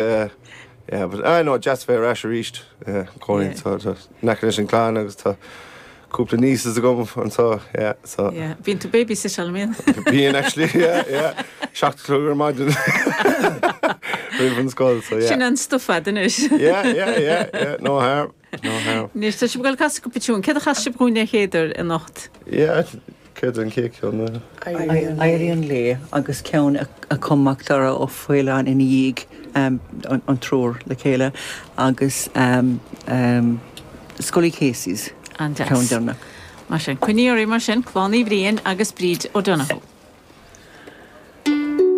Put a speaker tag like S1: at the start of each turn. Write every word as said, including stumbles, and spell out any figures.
S1: Yeah, yeah, but I know deas bheith ar ais arís cónaí in aice leis an clann agus tá cúpla nieces agam anseo yeah, so
S2: Yeah, Bíonn tú babysitteáil an
S1: Bíonn actually yeah, yeah. Seacht ar maidin roimh an scoil so yeah.
S2: Sin an stuff anois.
S1: yeah, yeah, yeah, yeah, no harm. No harm.
S2: Anois tá sibh ag casadh cúpla tiún, Céard a chas sibh dhúinn an chéad uair anocht.
S1: Yeah, céard an chéad cheann
S3: Éirí an Lae agus ceann a chum Macdara Ó Faoláin ina dhiaidh um, an, an triúr le chéile agus um, um, Scully Casey's
S2: An
S3: ceann deireanach.
S2: Mar sin, coinníorí mar sin, Clann Uí Bhriain agus Bríd O'Donoghue.